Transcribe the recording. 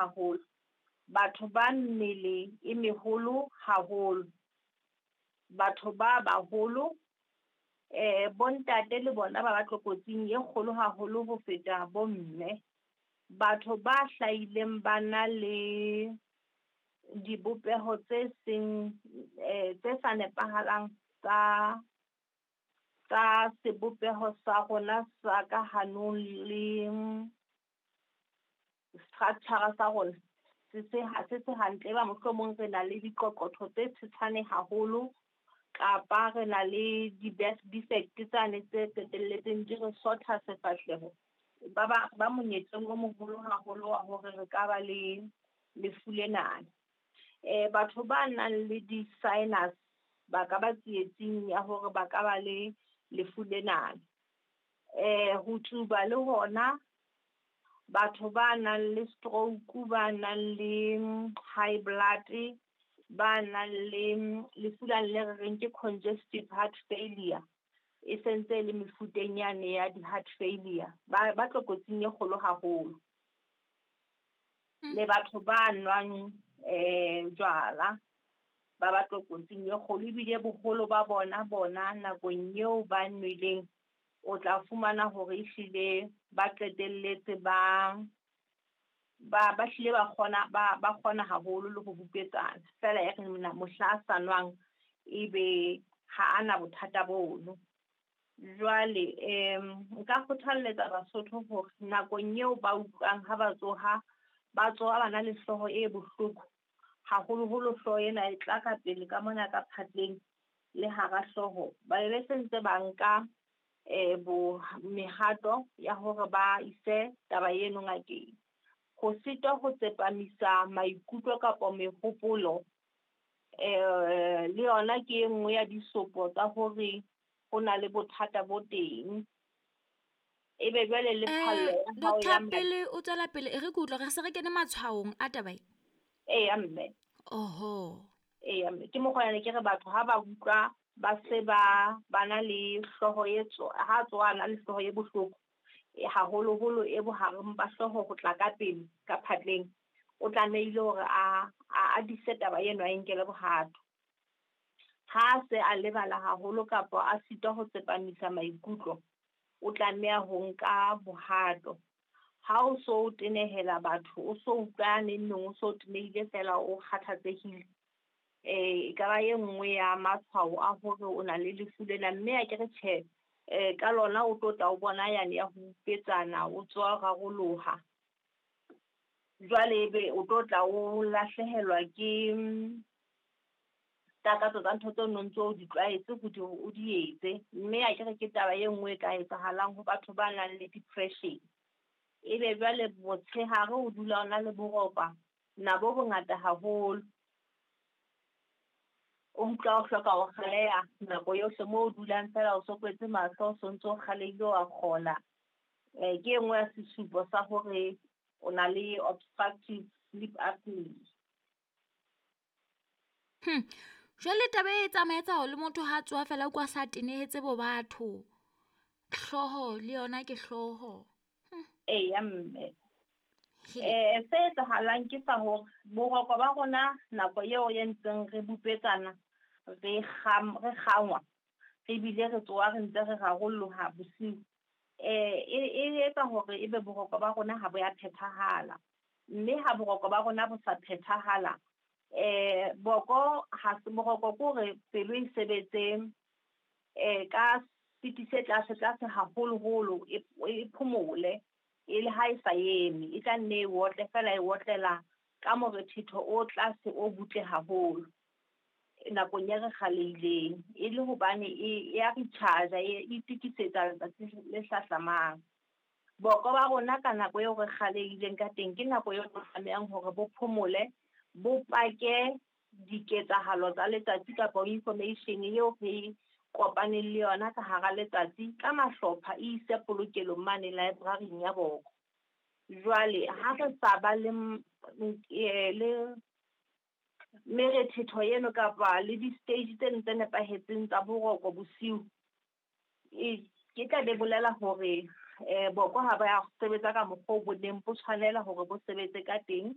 haholo. Batho ba mmele e meholo haholo. Batho ba baholo, bontate le bona ba ba tlokotsing e kgolo haholo ho feta bomme. Batho ba hlahileng ba na le dibopeho tse seng tse sa nepahalang tsa sebopeho sa rona sa ka hanong le structure sa rona se se se hantle. E ba mohlomong re na le diqoqotho tse tshetshane haholo kapa re na le di-birth defect tsane tse qetelletseng di re sotha sefahleho. Ba monyetleng o moholo haholo wa hore re ka ba le lefu lena. Batho ba nang le di-sinus ba ka ba tsietsing ya hore ba ka ba le lefu lena. Ho tsuba le hona, batho ba nang le stroke, ba nang le high blood, ba nang le lefu lane le re reng ke congestive heart failure, e sentse e le mefuteng yane ya di-heart failure, ba tlokotsing e kgolo haholo. Le batho ba nwang jwala ba ba tlokotsing e kgolo, ebile boholo ba bona nakong eo ba nweleng o tla fumana hore ehlile ba qetelletse ba hlile ba kgona ba kgona haholo le ho bupetsana. Feela e re mohla a sa nwang ebe ha ana bothata bono. Jwale nka kgothalletsa Basotho hore nakong eo ba utlwang ha ba tsoha, ba tsoha ba na le hlooho e bohloko, haholoholo hlooho ena e tla ka pele ka mona ka phatleng le hara hlooho, ba be se ntse ba nka mehato ya hore ba ise taba eno ngakeng. Ho sitwa ho tsepamisa maikutlo kapa mehopolo, le yona ke e nngwe ya disopo tsa hore ho na le bothata bo teng. Ebe jwale le phallo ya hao ya Doctor, pele o tswela pele, e re ke utlwe re se re kene matshwaong a taba e. Eya mme. Oho. Eya mme, ke mokgwa ne ke re batho ha ba utlwa ba se ba na le hlooho e ha tsoha le hlooho e bohloko, haholoholo e bohareng ba hlooho ho tla ka pele ka phatleng, o tlamehile hore a dise taba eno, a nkele bohato. Ha se a lebala haholo kapa a sitwa ho tsepamisa maikutlo, o tlameha ho nka bohato. Ha o so o tenehela batho, o so utlwa neng neng, o so tenehile fela o kgathatsehile, e ka ba e nngwe ya matshwao a hore o na le lefu lena. Mme a ke re tjhe, ka lona o tlo tla o bona yane ya ho upetsana, o tswa raroloha. Jwale ebe o tlo tla o lahlehelwa ke takatso tsa ntho tseo no ntso o di tlwaetse ho di o di etse. Mme a ke re ke taba e nngwe e ka etsahalang ho batho ba nang le depression. Ebe jwale motshehare o dula o na le boropa na bo bongata haholo, o utlwa o hloka ho kgaleha nako yohle, moo o dulang fela o so kwetse mahlo, o sontso o kgalehile wa kgona. Ke e nngwe ya sesupo sa hore o na le obstructive sleep apnea. Jwale taba e tsamaetsa le motho ha tsoha fela kwa sa tenehetse bo batho. Hlooho le yona ke hlooho. Eya mme. Se etsahalang ke sa hore boroko ba rona nako eo e ntseng re bupetsana, re kgangwa, re bile re tsoha re ntse re rarolloha bosiu. E etsa hore ebe boroko ba rona ha bo ya phethahala. Mme ha boroko ba rona bo sa phethahala, boko ha se boroko ke hore pelo e sebetse ka speed se tlase tlase haholoholo, e phomole, e le ha e sa eme, e tla nne e otle fela, e otlela ka morethetho o tlase o butle haholo nakong e re kgalehileng, e le hobane e ya recharge, e itokisetsa letsatsi le hlahlamang. Boko ba rona ka nako eo re kgalehileng ka teng ke nako eo re tlamehang hore bo phomole, bo pake diketsahalo tsa letsatsi kapa information eo re kopaneng le yona ka hara letsatsi ka mahlopha, e ise polokelong mane library-ing ya boko. Jwale ha re sa ba le merethetho eno kapa le di-stage tseno tse nepahetseng tsa boroko bosiu, ke tla be bolela hore boko ha ba ya sebetsa ka mokgwa o bo neng bo tshwanela hore bo sebetse ka teng.